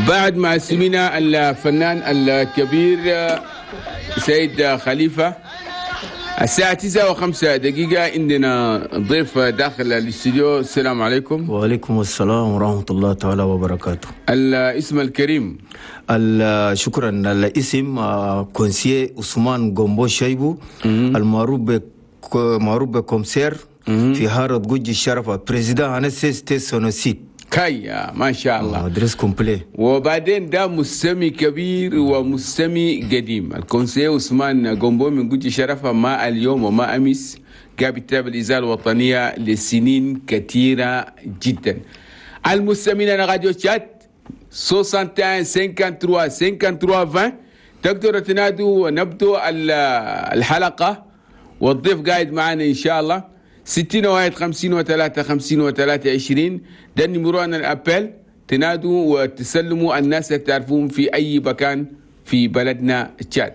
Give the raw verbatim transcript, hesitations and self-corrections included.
بعد ما سمعنا الفنان الكبير سيد خليفة، الساعة تسعة وخمسة دقيقة، عندنا ضيف داخل الاستوديو. السلام عليكم. وعليكم السلام ورحمة الله تعالى وبركاته. الاسم الكريم؟ شكرا. الاسم conseiller عثمان جومبو شيبو، المعروف معروف ب commissaire في حارة قوجي الشرفة، président هنا C S T سونوسيد. كاي، ما شاء الله. adresse complète. وبعدين ده مستمع كبير ومستمع قديم، ال conseiller عثمان جومبو من قوجي شرفة، ما اليوم وما امس، قاعد يتابع الاذاعة الوطنية لسنين كثيرة جدا. المستمعين راديو تشاد واحد وستين ثلاثة وخمسين ثلاثة وخمسين عشرين، تقدروا تنادوا ونبدو الحلقة، والضيف قاعد معنا ان شاء الله. ستين واحد خمسين وثلاثة خمسين وثلاثة عشرين، ده ال numéro ال appel، تنادوا وتسلموا الناس اللي تعرفون في أي مكان في بلدنا تشاد.